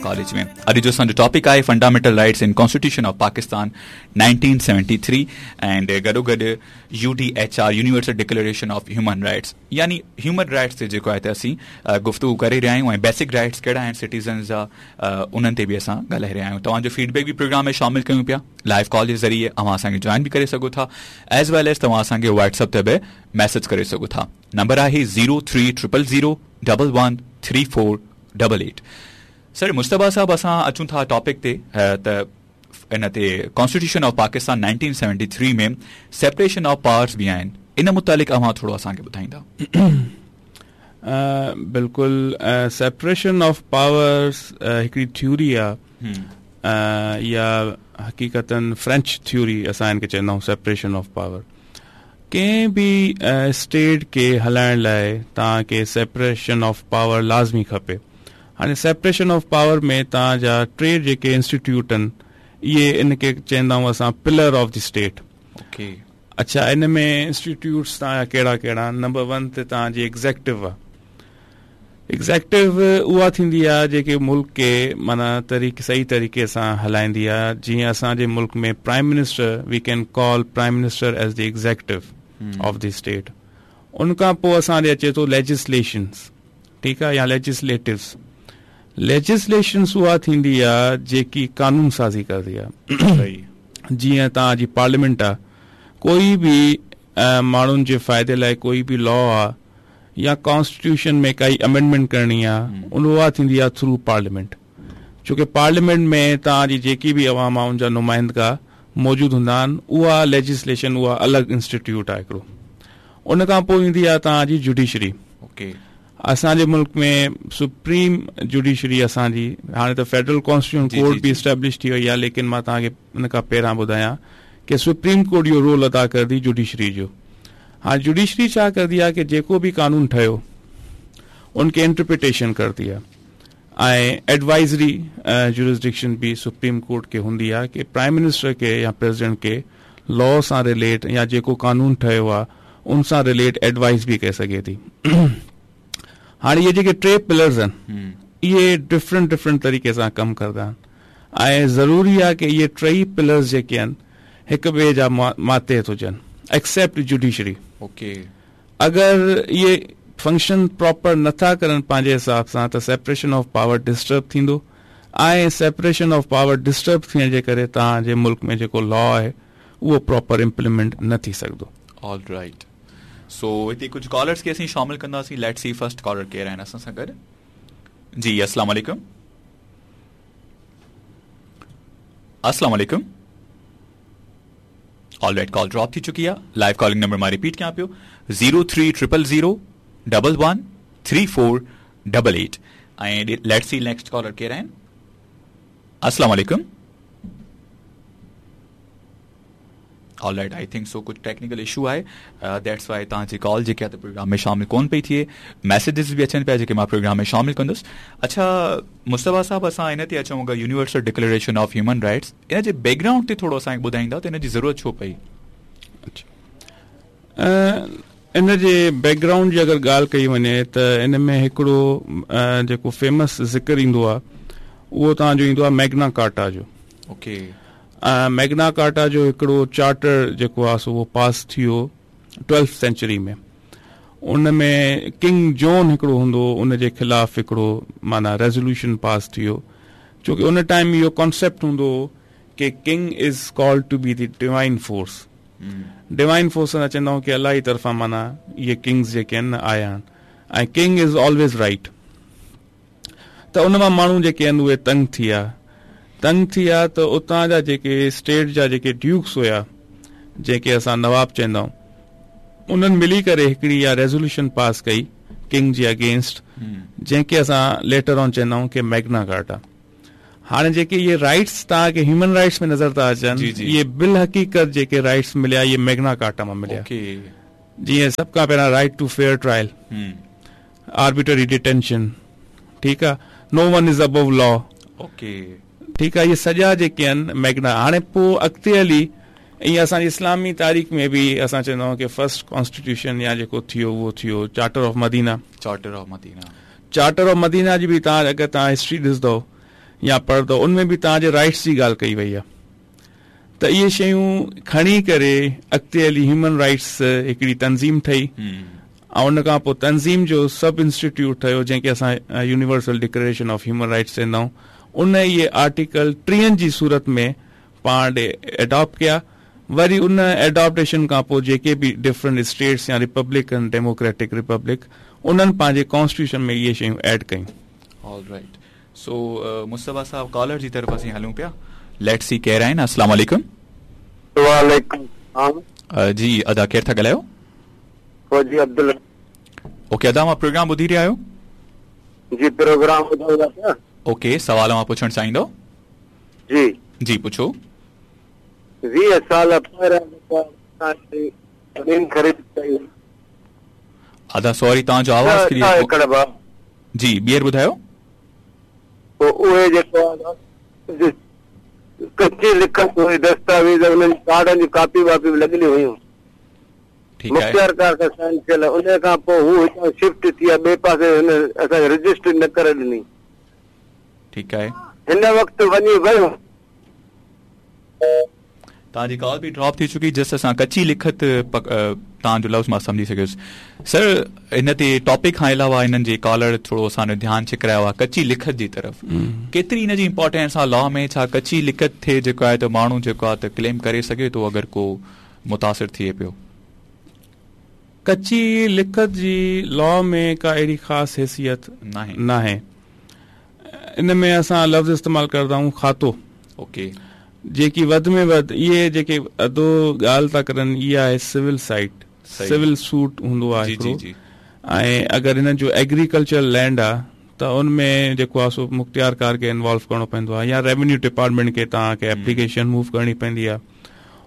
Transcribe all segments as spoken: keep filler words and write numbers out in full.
College में। अॼु जो असांजो टॉपिक आहे fundamental rights in constitution of Pakistan nineteen seventy three and गॾोगॾु U D H R universal declaration of human rights, यानी ह्यूमन राइट्स ते जेको आहे त असीं गुफ़्तगू करे रहिया आहियूं ऐं बेसिक राइट्स कहिड़ा आहिनि सिटीज़न्स जा, उन्हनि ते बि असां ॻाल्हाए रहिया आहियूं। तव्हांजो फीडबैक बि प्रोग्राम में शामिल कयूं पिया। लाइव कॉल जे ज़रिए अव्हां असांखे जॉइन बि करे सघो था, एज वेल एज तव्हां असांखे व्हाट्सएप ते बि मैसेज करे सघो था। नंबर आहे zero three triple zero double one three four double eight. Sir Mujtaba साहब, असां अचूं था टॉपिक ते त इन ते constitution of Pakistan nineteen seventy three में सेपरेशन ऑफ पावर्स बि आहिनि, इन मुतालिक़ अव्हां थोरो असांखे ॿुधाईंदा? बिल्कुलु, सेपरेशन ऑफ पावर्स हिकिड़ी थ्योरी आहे या हक़ीक़तन फ्रेंच थ्योरी असां हिनखे चवंदा आहियूं। सेपरेशन ऑफ पावर कंहिं बि स्टेट खे हलाइण लाइ तव्हांखे सेपरेशन ऑफ पावर लाज़मी खपे। हाणे सेपरेशन ऑफ पावर में तव्हांजा टे जेके इंस्टीट्यूट आहिनि इहे इनखे चवंदा आहियूं असां pillar of the state. Okay, अच्छा, इन में इंस्टीट्यूट्स तव्हांजा कहिड़ा कहिड़ा आहिनि? नंबर वन ते तव्हांजी एग्ज़ेक्टिव आहे। एग्ज़ेक्टिव उहा थींदी आहे जेके मुल्क खे माना तरीक़े सही तरीक़े सां हलाईंदी आहे। जीअं असांजे मुल्क में prime minister, we can call prime minister as the executive of the state. उन खां पोइ असांजे अचे थो लेजिस्लेशन्स, ठीकु आहे, या लेजिस्लेटिव्स। लेजिस्लेशन्स उहा थींदी आहे जेकी कानून साज़ी कंदी आहे। जीअं तव्हांजी पार्लियामेंट आहे, कोई बि माण्हुनि जे फ़ाइदे लाइ कोई बि लॉ आहे या कॉन्स्टिट्यूशन में काई अमेंडमेंट करणी आहे, उन उहा थींदी आहे थ्रू पार्लियामेंट। छो की पार्लियामेंट में तव्हांजी जेकी बि अवाम आहे उनजा नुमाइंदा मौजूदु हूंदा आहिनि, उहा लेजिस्लेशन उहा अलॻि इंस्टीट्यूट आहे हिकिड़ो। उन खां पोइ ईंदी आहे तव्हांजी जुडिशरी। ओके, असांजे मुल्क में सुप्रीम जुडिशरी असांजी हाणे त फेडरल कॉन्स्टिट्यूशन कोर्ट बि इस्टेब्लिश थी वई आहे, लेकिन मां तव्हांखे उन खां पहिरां ॿुधायां की सुप्रीम कोर्ट इहो रोल अदा कंदी जुडिशरी जो। हाणे जुडिशरी छा कंदी आहे की जेको बि कानून ठहियो उनखे इंटरप्रिटेशन करदी आहे ऐं एडवाइज़री जुरिस्डिक्शन बि सुप्रीम कोर्ट खे हूंदी आहे की प्राइम मिनिस्टर खे या प्रेसिडेंट खे लॉ सां रिलेट या जेको कानून ठहियो आहे उन सां रिलेट एडवाइस बि करे सघे थी। हाणे इहे जेके टे पिलर्स आहिनि इहे डिफरेंट डिफरेंट तरीक़े सां कमु कंदा आहिनि ऐं ज़रूरी आहे की इहे टई पिलर्स जेके आहिनि हिक ॿिए जा मातहत हुजनि, एक्सेप्ट जुडिशरी। ओके, अगरि इहे फंक्शन प्रॉपर नथा करनि पंहिंजे हिसाब सां त सेपरेशन ऑफ पावर डिस्टर्ब थींदो ऐं सेपरेशन ऑफ पावर डिस्टर्ब थियण जे करे तव्हांजे मुल्क में जेको लॉ आहे उहो प्रॉपर इम्प्लीमेंट न थी सघंदो। ऑलराइट, सो हिते कुझु कॉलर्स खे असीं शामिल कंदासीं। Let's see first collar केरु आहिनि असां सां गॾु। जी अस्सलाम वालेकुम। अस्सलाम वालेकुम। ऑलराइट, कॉल ड्रॉप थी चुकी आहे। लाइव कॉलिंग नंबर मां रिपीट कयां पियो, zero three triple zero double one three four double eight. ऐं let's see next collar केरु आहिनि। अस्सलाम वालेकुम। ऑलराइट, I think so कुझु टेक्निकल इशू आहे, that's why तव्हांजी कॉल जेकी आहे त प्रोग्राम में शामिल कोन पई थिए। मैसेजेस बि अचनि पिया जेके मां प्रोग्राम में शामिल कंदुसि। अच्छा मुस्तफ़ा साहब, असां इन ते अचूं अगरि universal declaration of human rights, इन जे बैकग्राउंड ते थोरो असांखे ॿुधाईंदा त इन जी ज़रूरत छो पई? अच्छा, इन जे बैकग्राउंड जी अगरि ॻाल्हि कई वञे त इन में हिकिड़ो जेको फेमस ज़िक्र ईंदो आहे उहो तव्हांजो ईंदो आहे मैग्ना कार्टा जो। ओके, मैग्ना कार्टा जो हिकिड़ो चार्टर जेको आहे सो उहो पास थी वियो ट्वेल्थ सेंचुरी में। उन में किंग जॉन हिकिड़ो हूंदो उन जे ख़िलाफ़ हिकिड़ो माना रेज़ोल्यूशन पास थी वियो, छो की उन टाइम इहो कॉन्सेप्ट हूंदो की king is called to be the divine force. Divine force असां चवंदा आहियूं की अलाह जी तरफ़ां माना इहे किंग्स जेके आहिनि आया आहिनि ऐं किंग is always right. त उन मां माण्हू जेके आहिनि उहे तंग थी विया, तंग थी विया त उतां जा जेके स्टेट जा जेके ड्यूक्स हुया, जेके असां नवाब चवंदा आहियूं, उन्हनि मिली करे हिकिड़ी इहा रेज़ोल्यूशन पास कई किंग जे अगेंस्ट, जंहिंखे असां लेटर ऑन चवंदा आहियूं की मैग्ना कार्टा। हाणे जेके इहे राइट्स तव्हांखे ह्यूमन राइट्स में नज़र था अचनि, इहे बिल हक़ीक़त जेके राइट्स मिलिया इहे मैग्ना कार्टा मां मिलिया। जीअं सभ खां पहिरियां right to fair trial, arbitrary detention, ठीकु आहे, no one is above law, okay, ठीकु आहे, इहे सॼा जेके आहिनि मैग्ना। हाणे पोइ अॻिते हली ईअं असांजी इस्लामी तारीख़ में बि असां चवंदा आहियूं की फर्स्ट कॉन्स्टिट्यूशन या जेको थियो उहो थियो charter of Medina. Charter of Medina, charter of Medina जी बि तव्हां अगरि तव्हां हिस्ट्री ॾिसंदव या पढ़ंदव उन में बि तव्हांजे राइट्स जी ॻाल्हि कई वई आहे। त इहे शयूं खणी करे अॻिते हली ह्यूमन राइट्स हिकिड़ी तंज़ीम ठही ऐं उन खां पोइ तंज़ीम जो सब इंस्टीट्यूट ठहियो जंहिंखे असां universal declaration of human rights चवंदा आहियूं। उन इहे आर्टिकल टीहनि जी सूरत में पाण ॾे एडॉप्ट कया। वरी उन एडॉप्टेशन खां पोइ जेके बि डिफरेंट स्टेट्स या रिपब्लिक आहिनि, डेमोक्रेटिक रिपब्लिक, उन्हनि पंहिंजे कॉन्स्टिट्यूशन में इहे शयूं ऐड कयूं। ऑलराइट, सो मुस्तफ़ा साहब कॉलर जी तरफ़ असीं हलूं पिया। Let's see केरु आहिनि। अस्सलाम वालेकुम। वालेकुम सलाम। जी अदा केरु था ॻाल्हायो? फौजी अब्दुल। ओके अदा, मां प्रोग्राम ॿुधी रहिया आहियो? जी प्रोग्राम ॿुधायूं पिया। ओके, सवाल मां पुछणु चाहींदो? जी जी पुछो। वीह साल पहिरियां ज़मीन ख़रीद कई। अदा सॉरी, तव्हांजो आवाज़ क्लियर। जी ॿीहर ॿुधायो। पोइ उहे जेको आहे कच्ची लिखत हुई, दस्तावेज़ उन्हनि कार्डनि जी कॉपी वापी बि लॻियल हुयूं, मुख्तियारकार सां साइन थियल। उन खां पोइ हू हितां शिफ्ट थी विया ॿिए पासे, हुन असांखे रजिस्ट्री न करे ॾिनी। ठीकु आहे, हिन वक़्तु वञी वियो। तव्हांजी कॉल बि ड्रॉप थी चुकी। जस्ट असां कच्ची लिखत तव्हांजो लफ़्ज़ मां सम्झी सघियुसि। सर, हिन ते टॉपिक खां अलावा हिननि जे कॉलर थोरो असांजो ध्यानु छिकरायो आहे कच्ची लिखत जी तरफ़। केतिरी हिन जी इम्पोर्टेंस आहे लॉ में? छा कच्ची लिखत थिए जेको आहे त माण्हू जेको आहे त क्लेम करे सघे थो अगरि को मुतासिर थिए पियो? कच्ची लिखत जी लॉ में का अहिड़ी ख़ासि हैसियत नाहे नाहे। इन में असां लफ़्ज़ इस्तेमालु कंदा आहियूं खातो। ओके, जेकी वधि में वधि इहे जेके अधो ॻाल्हि था करनि इहा आहे सिविल साइट, सिविल सूट हूंदो आहे हिकिड़ो। ऐं अगरि हिननि जो एग्रीकल्चर लैंड आहे त उन में जेको आहे सो मुख्तियारकार खे इन्वॉल्व करिणो पवंदो आहे या रेवेन्यू डिपार्टमेंट खे तव्हांखे एप्लीकेशन मूव करणी पवंदी आहे।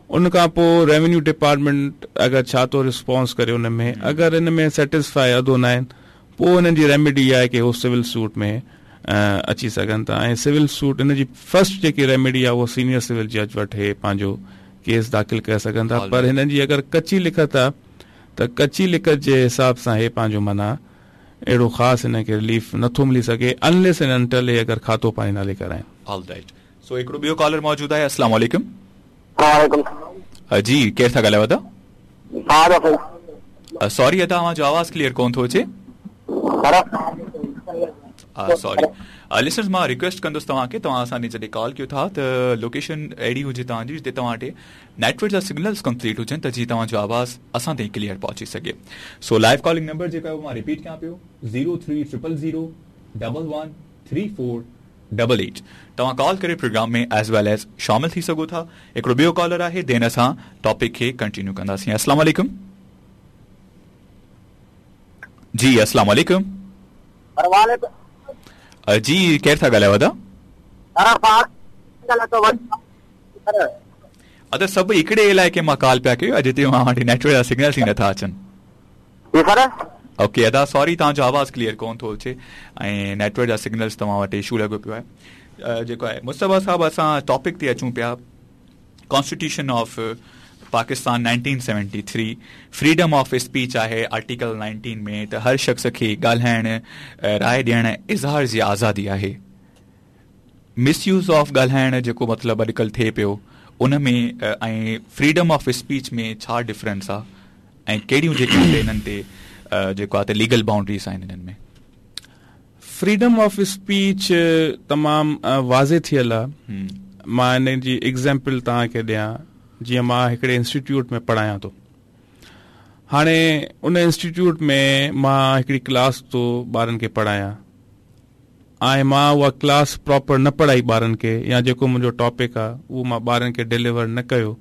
उन खां पोइ रेवेन्यू डिपार्टमेंट अगरि छा थो रिस्पॉन्स करे उन में, अगरि इन में सेटिस्फाई अधो न आहिनि पोइ हुननि जी रेमेडी आहे की हू सिविल सूट में अची सघनि था। ऐं civil suit in ji first जेकी रेमेडी आहे उहा सीनियर सिविल जज वटि हे पंहिंजो केस दाख़िल करे सघनि था। पर हिननि जी अगरि कच्ची लिखत आहे त कच्ची लिखत जे हिसाब सां हे पंहिंजो माना अहिड़ो ख़ासि हिन खे रिलीफ नथो मिली सघे अनलेस एंड अनटिल हे अगरि खातो पंहिंजे नाले कराइनि। ऑलराइट, सो हिकिड़ो ॿियो कॉलर मौजूदु आहे। अस्सलाम वालेकुम। वालेकुम। जी केरु था ॻाल्हायो अदा? सॉरी अदा, तव्हांजो आवाज़ क्लियर कोन थो अचे। सॉरी लिसनर्स, मां रिक्वेस्ट कंदुसि तव्हांखे, तव्हां असांजे जॾहिं कॉल कयो था त लोकेशन अहिड़ी हुजे तव्हांजी जिते तव्हां वटि नेटवर्क जा सिग्नल्स कंप्लीट हुजनि त जीअं तव्हांजो आवाज़ असां ताईं क्लियर पहुची सघे। सो लाइव कॉलिंग नंबर जेको आहे उहो मां रिपीट कयां पियो, zero three triple zero double one three four double eight. तव्हां कॉल करे प्रोग्राम में एज वेल एज शामिल थी सघो था। हिकिड़ो ॿियो कॉलर आहे, then असां टॉपिक खे कंटिन्यू कंदासीं। अस्सलाम वालेकुम। जी अस्सलाम वालेकुम। जी केरु था ॻाल्हायो अदा? अदा सभु हिकिड़े इलाइक़े मां कॉल पिया कयो, अॼु हिते मां वटि नेटवर्क जा सिग्नल्स ई नथा अचनि। ओके अदा सॉरी, तव्हांजो आवाज़ क्लियर कोन थो अचे ऐं नेटवर्क जा सिग्नल्स तव्हां वटि इशू लॻो पियो आहे। जेको आहे मुस्तफ़ा साहब, असां टॉपिक ते अचूं पिया, constitution of Pakistan nineteen seventy three, freedom of speech आहे आर्टिकल नाइनटीन में त हर शख़्स खे ॻाल्हाइण, राय ॾियण, इज़हार जी आज़ादी आहे। मिसयूज़ ऑफ ॻाल्हाइण जेको मतिलबु अॼुकल्ह थिए पियो उन में ऐं फ्रीडम ऑफ स्पीच में छा डिफरेंस आहे ऐं कहिड़ियूं जेके हिननि ते जेको आहे त लीगल बाउंड्रीज़ आहिनि हिननि में? फ्रीडम ऑफ स्पीच तमामु वाज़े थियल आहे। मां हिन जी एग्ज़ाम्पल तव्हांखे ॾियां, जीअं मां हिकिड़े इंस्टीट्यूट में पढ़ायां थो। हाणे उन इंस्टीट्यूट में मां हिकिड़ी क्लास थो ॿारनि खे पढ़ायां ऐं मां उहा क्लास प्रॉपर न पढ़ाई ॿारनि खे, या जेको मुंहिंजो टॉपिक आहे उहो मां ॿारनि खे डिलीवर न कयो,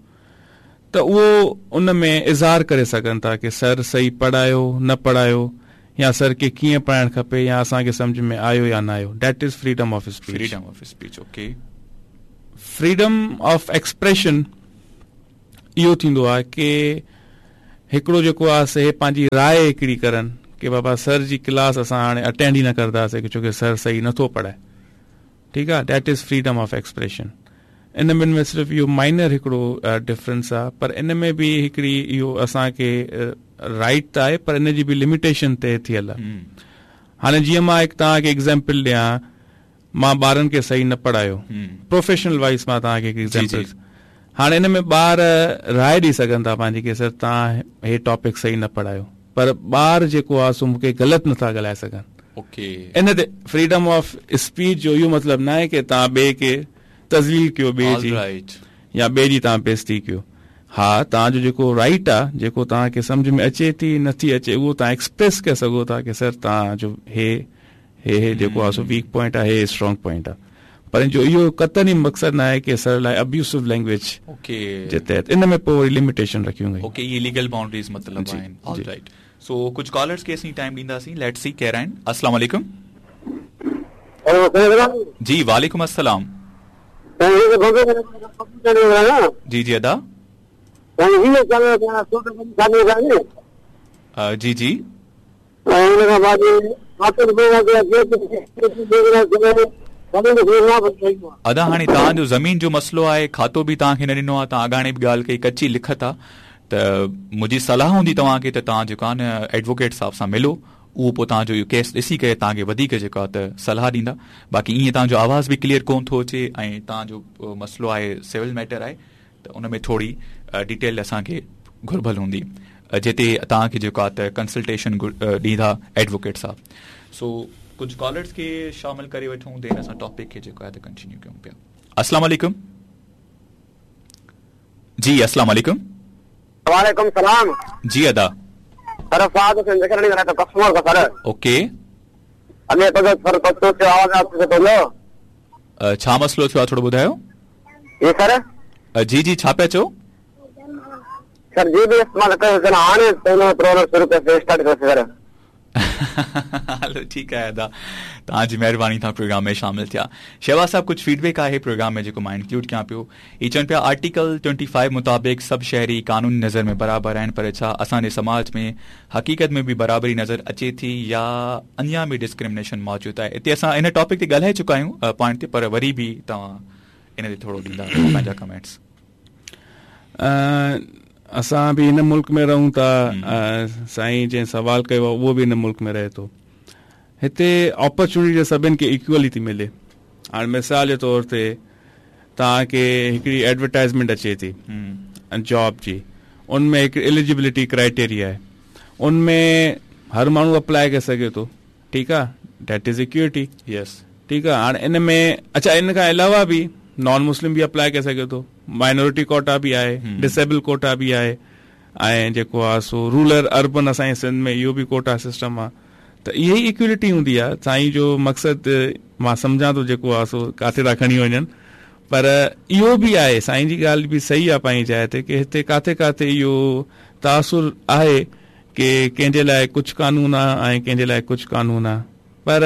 त उहो उन में इज़हार करे सघनि था की सर सही पढ़ायो न पढ़ायो, या सर खे कीअं पढ़ाइणु खपे, या असांखे सम्झ में आयो या न आयो। That is freedom of speech. Freedom of speech, okay. Freedom of expression इहो थींदो आहे की हिकिड़ो जेको आहे से पंहिंजी राय हिकिड़ी करनि की बाबा सर जी क्लास असां हाणे अटेंड ई न कंदासीं छो की सर सही नथो पढ़ाए। ठीकु आहे, that is freedom of expression. इन ॿिनि में सिर्फ़ु इहो माइनर हिकिड़ो डिफरेंस आहे, पर इन में बि हिकिड़ी इहो असांखे राइट त आहे पर इन जी बि लिमिटेशन तय थियल आहे। हाणे जीअं मां हिकु तव्हांखे एग्ज़ाम्पल ॾियां, मां ॿारनि खे सही न पढ़ायो। प्रोफेशनल वाइज़ मां तव्हांखे हिकु एग्ज़ाम्पल, हाणे इन में ॿार राय ॾेई सघनि था पंहिंजी की सर तव्हां हे टॉपिक सही न पढ़ायो, पर ॿार जेको आहे सो मूंखे ग़लति नथा ॻाल्हाए सघनि। ओके, इन ते फ्रीडम ऑफ स्पीच जो इहो मतिलबु न आहे की तव्हां ॿिए खे तज़लील कयो, ॿिए जी या ॿिए जी तव्हां बेइज़ती कयो। हा, तव्हांजो जेको राइट आहे, जेको तव्हांखे सम्झ में अचे थी नथी अचे, उहो तव्हां एक्सप्रेस करे सघो था की सर तव्हांजो हे हे हे जेको आहे सो वीक पॉइंट आहे, हे स्ट्रॉन्ग पॉइंट आहे, पर जो इहो कतन ई मक़सदु न आहे की सर लाइ अब्यूसिव लैंग्वेज जे तहत इन में पोइ वरी लिमिटेशन रखियूं वयूं। ओके, इहे लीगल बाउंड्रीज मतिलबु आहिनि। ऑलराइट, सो कुझु कॉलर्स खे असीं टाइम ॾींदासीं, let's see केरु आहिनि। अस्सलाम वालेकुम। जी वालेकुम अस्सलाम। जी जी अदा। जी जी अदा, हाणे तव्हांजो ज़मीन जो मसइलो आहे, खातो बि तव्हांखे न ॾिनो आहे, तव्हां अॻाणे बि ॻाल्हि कई, कच्ची लिखत आहे, त मुंहिंजी सलाह हूंदी तव्हांखे त तव्हां जेको आहे न एडवोकेट साहिब सां मिलो, उहो पोइ तव्हांजो इहो केस ॾिसी करे तव्हांखे वधीक जेको आहे त सलाह ॾींदा। बाक़ी ईअं तव्हांजो आवाज़ बि क्लियर कोन थो अचे ऐं तव्हांजो मसइलो आहे सिविल मैटर आहे, त उन में थोरी डिटेल असांखे घुर्बल हूंदी, जिते तव्हांखे जेको आहे त कंसल्टेशन ॾींदा एडवोकेट साहिब। सो कुझु कॉलर्स खे शामिल करे वठूं, then असां टॉपिक खे जेको आहे त कंटिन्यू कयूं पिया। अस्सलाम वालेकुम। जी अस्सलाम वालेकुम। वालेकुम सलाम। जी अदा। सर फाद से जिक्र नहीं रहा तो कस्टमर का सर। ओके, अने तो सर तो से आवाज आपसे तो लो छा मसइलो थियो आहे थोरो ॿुधायो। ये सर जी जी छा पिया चओ? सर जी भी इस्तेमाल कयो सर, हाणे पहिरियों प्रोग्राम शुरू कयो स्टार्ट कयो सर। हलो ठीकु आहे अदा, तव्हांजी महिरबानी तव्हां प्रोग्राम में शामिल थिया। शहबाज साहिबु, कुझु फीडबैक आहे प्रोग्राम में जेको मां इंक्लूड कयां पियो। इहे चवनि पिया आर्टिकल ट्वेंटी फाइव मुताबिक़ सभु शहरी कानूनी नज़र में बराबरि आहिनि, पर छा असांजे समाज में हक़ीक़त में बि बराबरी नज़र अचे थी या अञा बि डिस्क्रिमिनेशन मौजूदु आहे? हिते असां इन टॉपिक ते ॻाल्हाए चुका आहियूं पॉइंट ते, पर वरी बि तव्हां इन ते थोरो ॾींदा पंहिंजा कमेंट्स। असां बि हिन मुल्क में रहूं था, साईं जंहिं सवाल कयो आहे उहो बि हिन मुल्क में रहे थो। हिते अपॉर्चुनिटी सभिनि खे इक्वली थी मिले। हाणे मिसाल जे तौर ते तव्हांखे हिकिड़ी एडवर्टाइज़मेंट अचे थी जॉब जी, उन में हिकु एलिजिबिलिटी क्राइटेरिया आहे, उन में हर माण्हू अप्लाई करे सघे थो, ठीकु आहे, that is equity. Yes, ठीकु आहे। हाणे इन में अच्छा, इन खां अलावा बि नॉन मुस्लिम बि अप्लाई करे सघे थो, माइनॉरिटी कोटा बि आहे, डिसेबल कोटा बि आहे, ऐं जेको आहे सो रूरल अर्बन असांजे सिंध में इहो बि कोटा सिस्टम आहे। त इहा ई इक्वलिटी हूंदी आहे। साईं जो मक़सदु मां सम्झां थो जेको आहे सो किथे था खणी वञनि, पर इहो बि आहे, साईं जी ॻाल्हि बि सही आहे पंहिंजी जाइ ते की हिते किथे किथे इहो तासुर आहे की कंहिंजे लाइ कुझु कानून आहे ऐं कंहिंजे लाइ कुझु कानून आहे, पर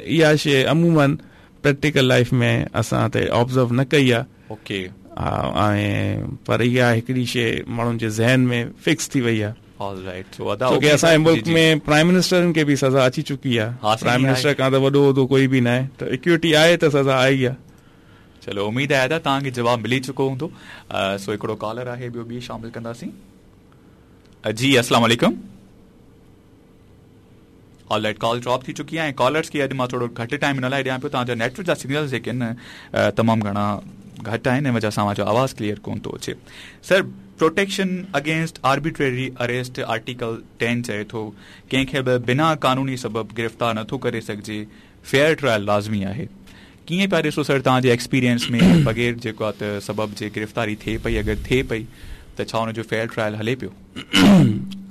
इहा शइ अमूमन प्रैक्टिकल लाइफ में असां त ऑब्ज़र्व न कई आहे। ओके, हा, ऐं पर इहा हिकिड़ी शइ माण्हुनि जे ज़हन में फिक्स थी वई आहे। ऑलराइट, सो अदा छो की असांजे मुल्क में प्राइम मिनिस्टरनि खे बि सज़ा अची चुकी आहे, प्राइम मिनिस्टर खां त वॾो उहिदो कोई बि न आहे, त इक्विटी आहे त सज़ा आई आहे। चलो, उमेद आहे अदा तव्हांखे जवाबु मिली चुको हूंदो। सो हिकिड़ो कॉलर आहे, ॿियो बि शामिल कंदासीं। जी अस्सलाम वालेकुम। ऑलराइट, कॉल ड्रॉप थी चुकी आहे। कॉलर्स खे अॼु मां थोरो घटि टाइम हिन लाइ ॾियां पियो, तव्हांजा नेटवर्क जा सिग्नल्स जेके आहिनि तमामु घणा घटि आहिनि, इन वजह सां तव्हांजो आवाज़ क्लियर कोन थो अचे। Sir, protection against arbitrary arrest article ten चए थो कंहिंखे बि बिना कानूनी सबब गिरफ़्तार नथो करे सघिजे, फेयर ट्रायल लाज़मी आहे। कीअं पिया ॾिसो सर तव्हांजे एक्सपीरियंस में बग़ैर जेको आहे त सबब जे गिरफ़्तारी थिए पई, अगरि थिए पई त छा हुनजो फेयर ट्रायल हले पियो?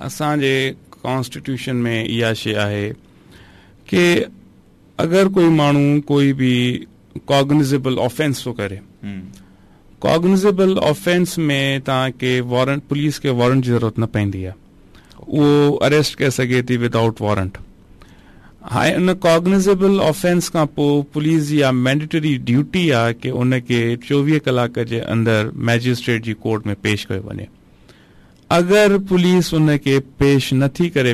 असांजे कॉन्स्टिट्यूशन में इहा शइ आहे की अगरि कोई माण्हू कोई बि कॉग्निजेबल ऑफेंस थो करे, कॉग्निजेबल ऑफेंस में तव्हांखे वॉरंट, पुलिस खे वॉरंट जी ज़रूरत न पवंदी आहे, उहो अरेस्ट करे सघे थी विदाउट वॉरंट। हाणे उन कॉग्निजेबल ऑफेंस खां पोइ पुलिस जी इहा मैंडेटरी ड्यूटी आहे की उनखे चोवीह कलाक जे अंदरि मैजिस्ट्रेट जी कोर्ट में पेश कयो वञे। अगरि पुलिस उनखे पेश नथी करे